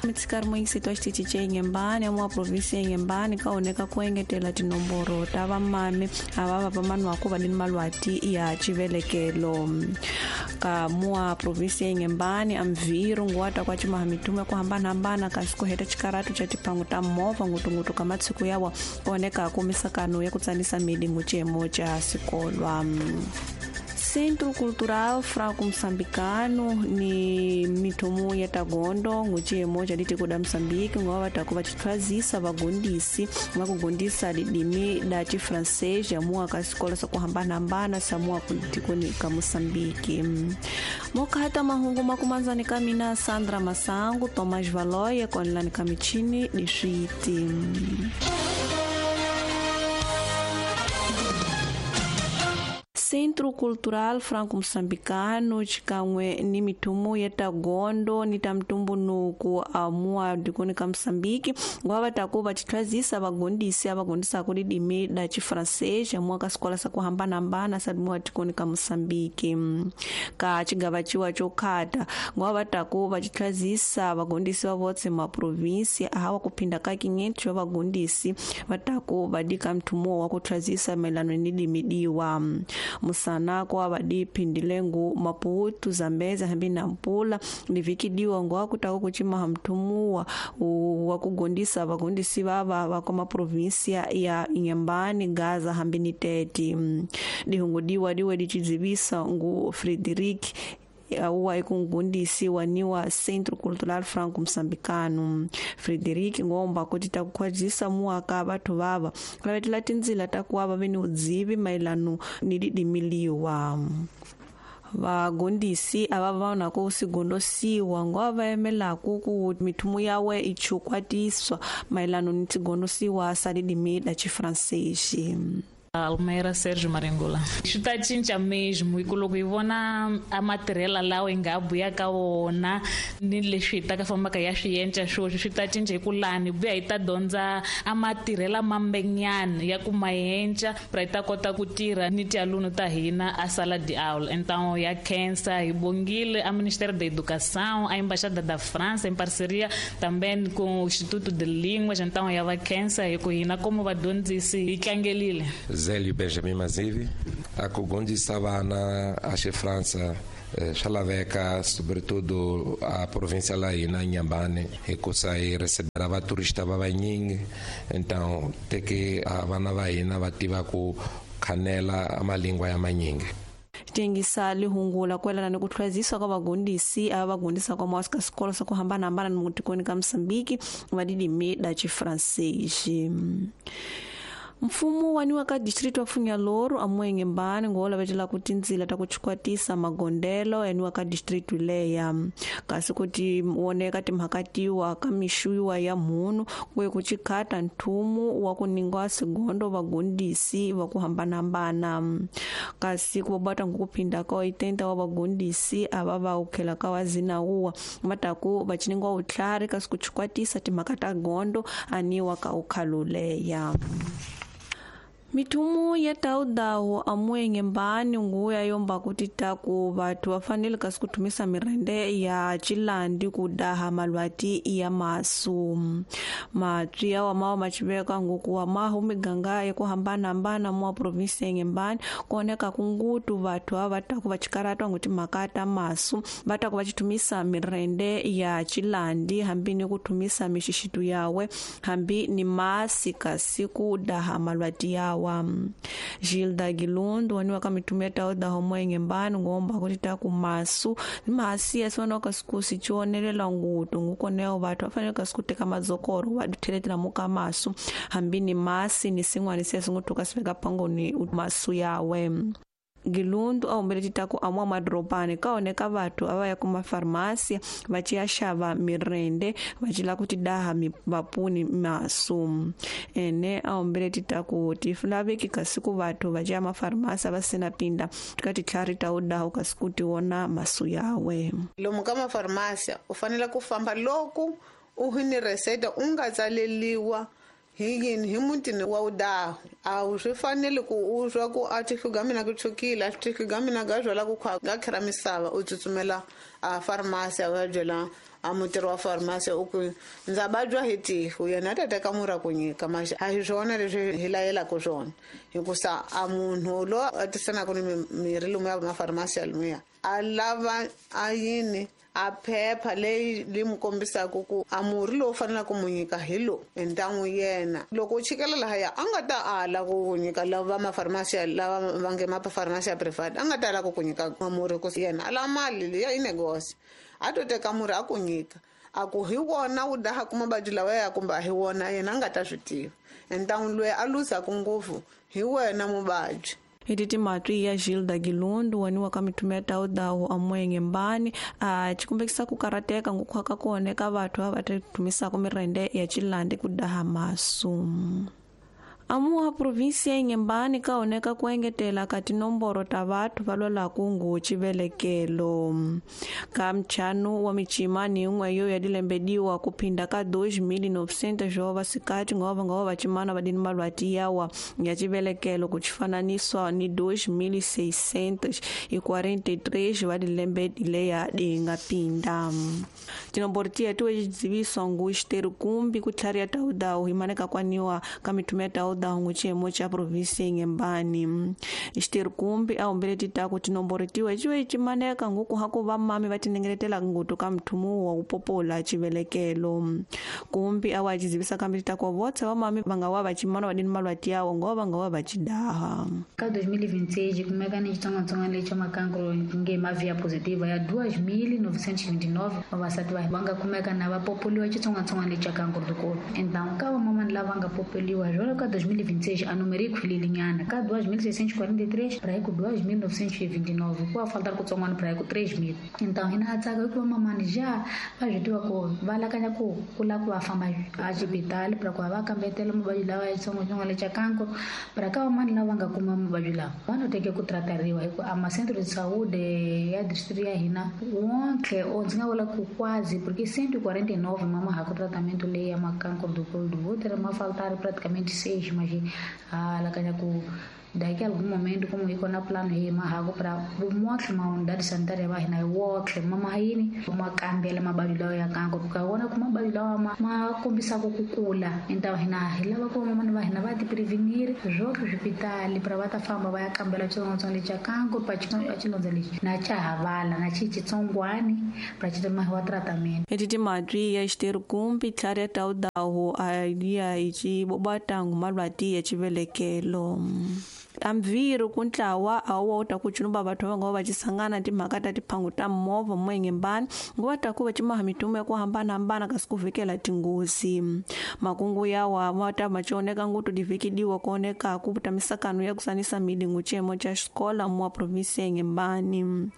Mitsikari moyingiseti wa xitichi ce Inhambane ya mua provinsi ya Inhambane ka oneka ku engetela tinomboro ta vamami ava va vamanwaku va ni malwati ya chivelekelo ka mua provinsi ya Inhambane amviru nguwata kwa cimaha mitumo ya ku hambanahambana kasi ku heta xikaratu xa tipangu ta movha ngutungutu ka matshiku yawa oneka ku misakano ya ku tsanisa midi ngucemo xa sikolwa. Centro Cultural Franco Moçambicano ni mithomo ya tagondo nguciyemo ca litiko da Moçambique ngowa vataku va cithwazisa vagondisi va kugondisa lidimi da chifrancês ya ka xikolo swa ku hambanahambana sa mua tikoni ka Moçambique. Mokata mahungu makumanzani ka mina Sandra Masangu, Tomás Valoia konelani ka michini ni switi. Centro Cultural Franco Moçambicano xikan'we ni mithumo ya tagondo ni ta mtumbunuku amua dikoni ka Moçambique ngwa va taku va chithwazisa vagondisi a vagondisaka lidimi da chifrancês amua ka xikola sa ku hambanahambana sa mua tikoni ka Moçambique. Ka xigava ciwa xo khata ngwa va taku va chithwazisa vagondisi va votse ma provinsia ahawa ku phinda ka 500 va vagondisi va taku va dika mthumo wa ku thwazisa mayelana ni dimi diwa. Musanako avadi phindilengu Maputo, Zambezi hambi na Nampula livikidiwa ngwa kutaka kuchimaha mthumuwa wa kugondisa vagondisi vava va kwa maprovinsia ya Inhambane, Gaza hambi ni Tete. Dihungudiwa diwe dichidzivisa ngu Frederic uwa ikungundisi waniwa Centro Cultural Franco Moçambicano. Frederic ngomba kuti takukhwazisa muaka vathu vava lavetela tindzila takuwa va ni udzivi mayelano ni didimiliwa. Vagondisi ava va ku sigondosiwa ngwa va yemelaku ku mithumo yawe ichukwatiswa mayelano ni tigondosiwa sa didimi da chifrancês. Almeida Sérgio Marengula. Swi ta cinca mesmo hi ku loko hi vona a matirhela lawa hi nga buya ka wona ni leswi hi ta ka fambaka ya swi yenca swoswi swi ta cinca hi ku lani buya hi ta dyondza a matirhela mambenyana ya ku mayenca pra hi ta kota ku tirha ni tialunu ta hina a sala de aula. Então ya khensa hi bongile a Ministério da Educação, a Embaixada da França em parceria também com o Instituto de Línguas, então ya va khensa hi ku hina como vadyondzisi hi tlangelile. Zélio Benjamin Mazivi, a kugondisa vana a França swa laveka sobretudo a província lá aí na Inhambane hikusa hi recebera vaturista va vanyingi, então te que a vana va hina va tiva ku khanela malingwa ya manyingi. Tengisa lihungula kwelana ni ku tlhwazisa ka vagondisi ava vagondisa kwa mwasi ka xikolo swa ku hambanahambana ni mutikoni ka Moçambique va didimi da chifrancês. Mfumo waniwa ka distrito wa Funhalouro amuwa Inhambane ngola vetela ku tindzila ta ku chikwatisa magondelo yaniwa ka distrito leya kasi kuti woneka timhaka tiwa ka mixuyiwa ya mhunu kuye ku chikhata nthumu wa ku ningwa sigondo vagondisi va ku hambanahambana kasi ku bata ngukuphinda ka 80 wa vagondisi ava va ukhela ka wa zinawuwa va ta ku va chiningwa utlhari kasi ku chikwatisa timhaka ta gondo aniwa ka ukhaluleya. Mithumo ya taudawu amuwa Inhambane nguya yomba kuti taku vathu va fanele kasi ku thumisa mirende ya chilandi ku daha malwati ya masu. Matswi yawa mawa machiveka nguku wa mahu miganga ya ku hambanahambana mua provinsi ya Inhambane kuoneka kungutu vathu ava va taku va chikaratwa nguti mhaka ta masu va taku va chithumisa mirende ya chilandi hambi ni ku thumisa mixixitu yawe hambi ni masi kasi ku daha malwati yawa. Gilda Gilundo waniwa ka mitumo ya tauda homo Inhambane ngomba kuti taku masu masi yasiwana ka siku sichionelela ngutu ngukoneo vathu va fanele ka siku teka madzokoro va ditheletela muka masu hambi ni masi ni sin'wana se singutuka siveka pangoni masu yawe. Gilundu a humbele titaku amwa madorobani ka oneka vathu ava ya kuma farmasi va ciya xava mirende va cila ku tidaha vapuni masu ene a humbele titaku ti laveki kasi ku vathu va ciya mafarmasi va sina pinda tika titlhari ta udaha kasi ku ti wona masu yawe. Lomu ka mafarmasi u fanele ku famba loko u hi ni reseta u nga tsaleliwa Hi yini hi mutini wa udahu a wu swi fanele ku u swa ku a tihluga mina ku tshukile a tihluga mina ga byela ku khwa ga khira misava u tsutsumela a farmasi a ya byela a mutirhi wa farmasi u ku ndza vabya hi tifu yena a ta teka murhi a ku nyika maxi a hi swona leswi hi layelaka swona hikusa a munhu loyi a tisanaka ni mirhi lomuya mafarmasi ya lomuya a lava a yini a phepha leyi li mu kombisaka ku a murhi lowu faneleke ku mu nyika hi lowu entan'wu yena loko u chikela lahaya a nga ta ala ku ku nyika lava mafarmasi lava va nge mafarmasi ya private a nga ta ala ku ku nyika murhi ku yena a lava mali liya i negosi a to teka murhi a ku nyika a ku hi wona wu dahaka mavabyi lawa ya kumbe a hi wona yena a nga ta swi tiva entan'wu loyi a luzaka ngopfu hi wena muvabyi. Iti matwi ya Gilda Gilundu waniwa ka mitume ya taudawu amwenge mbani a chikumbekisa kukarateka ngukhwaka kone ka vathu ava tumisako mirende ya chilandi kudaha masu. Amuha provinsia Inhambane kaoneka kuengetela ka tinomboro ta vathu va lwalaku ngu chivelekelo. Ka mchanu wa michimani imwe yo ya dilembediwa kuphinda ka 2900 jova sikati ngova ngova vachimana vadini malwati yawa ya chivelekelo kuchifananiswa ni 2643 va dilembedile ya dinga pinda. Tinomboro tiya tuwe jidziviswa ngu xiteru kumbi kutlhari ya taudawu himaneka kwaniwa ka mitume ya taudawu nguchiyemo cha provinsi Inhambane. Xiteru kumbi a humbele titaku tinomboro tiwe ciwe cimaneka nguku haku vamami va tinengeletela ngutu ka mthumu wa kupopola chivelekelo. Kumbi awa cizivisa kambi titaku votse vamami va nga wa va cimana va dini malwati yawo ngova va nga wa va cidaha. Ka 2026 kumeka ni xitsongwatsongwana lexi makankro nge mavia positiva ya 2929 vavasati va nga kumeka na va popoliwa xitsongwatsongwana lexi xa kankro dikolo. Então ka vamamani lava nga popoliwa jolo ka 2026 a número ikhwilile nyana ka 2643 para ku 2929 ku faltar kutsongwana para ku 3000. Então hina tsaka ku mamani já va swi tiva ku va lakanya ku kula ku va famba a xibitali para ku va kambetela mavabyi lawa ya xitsongwatsongwana lexa kankro para ka vamani lava nga kuma mavabyi lawa va no teke ku tratariwa hi ku a macentro de saúde ya distrito ya hina wonke o ndzi nga vula ku quase porque 149 mama ha ku tratamento leyi ya makankro do colo do útero ma faltar praticamente 6 mas a lakanya ku daqui a algum momento como iko na plano hi mahago para motlhe ma unidade sanitária va hina wotlhe mama yini ma kambela mavabyi lawa ya kankro ka vona ku mavabyi lawa ma kombisaka ku kula então hina hi lava ku vamamani va hina va ti prevenir swotlhe swipitali para va ta famba va ya kambela xitsongwatsongwana lexi xa kankro pa xilondza lexi na xa havala na xi xitsongwani para xi mahiwa tratamento. Eti timatwi ya xiteru kumbi tlhari ya taudawu a ya hi xibobatangu malwati ya xivelekelo. Amviru kuntlawa a wu ta ku chunuba vathu va nga va cisangana timhaka ta tiphangu ta movha Inhambane nguva ta ku va cimaha mitumo ya ku hambanahambana kasi ku vhikela tinghozi. Makungu yawa ma ta ma cioneka ngutu divikidiwa kuoneka ku ta misakano ya kusanisa milingu chiyemo cha xikola mwa provinsi ya Inhambane.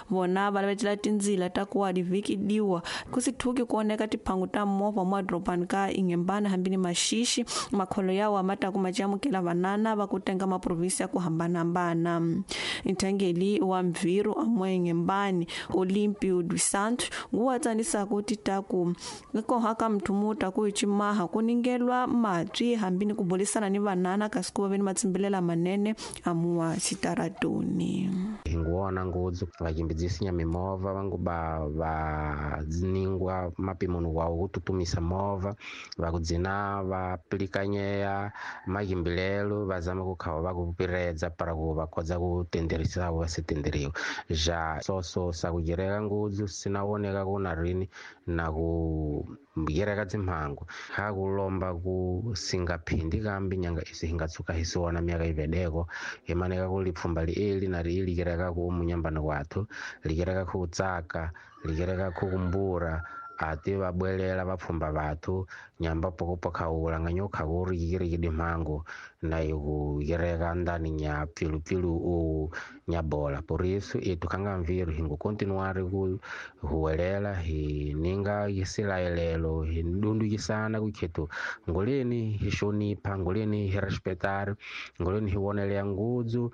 Vona va lavetela tindzila ta ku wa divikidiwa ku si thuki kuoneka tiphangu ta movha mwa doropani ka Inhambane hambi ni maxixi makholo yawa ma ta ku ma camukela vanana va ku tenga maprovinsi ya ku hambanahambana. Nthangeli wa Mviru amwe Inhambane Olimpio dos Santos nguwa tsanisaka titaku nkoha ka mthumuta ku icimaha ku ningelwa matwi hambi ni ku bulisana ni vanana kasi ku va ni matsimbilela manene amuwa xitaratoni. Hi nguwona ngudzu vachimbidzisinya mimovha vanguba va dziningwa mapimoni wawo kututumisa movha va kudzina va pilikanyeya maghimbilelo va zama kukhawa va kupiredza para ku va kodza ku tenderisa va se tenderiwa ja soso sa kujereka ngudzu sinawoneka ku na rini na ku gereka dzimhangu ha kulomba ku singaphindi kambi nyanga isi hingatsuka hisiwona myaka ivedeko himaneka ku lipfumba lieli na riili kereka ku munyambano wathu likereka ku tsaka likereka ku kumbura ati vabwelela vapfumba vathu nyamba pokopokhaula nga nyokha ku ri yikirikidi mhangu na iku yereka ndani nya pfilupfilu u nya bola por isso itu kanga mviru hingu continuar ku huwelela hi ninga yisilayelelo hi dundukisana kukhetu ngoleni hi xonipha ngoleni hi respetar ngoleni hi woneleya ngudzu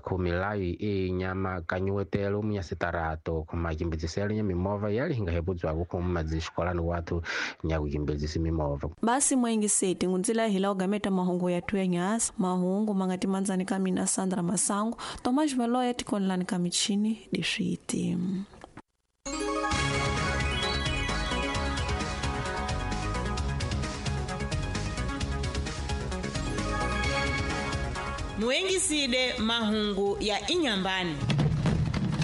khumilayo e nyama kanyiwetelo munya sitarato khumakimbitsiselo nya mimovha yali hinga hebudzwaku khu guma dzixikolani watu nyakukimbidzisa mimovha. Basi mwengiseti ngunzila hila ugameta mahungu ya tuya nyasi mahungu mangati manzani kamina Sandra Masango Tomas Valoya tikonlani kamichini diswiti. Muengiside mahungu ya Inyambani.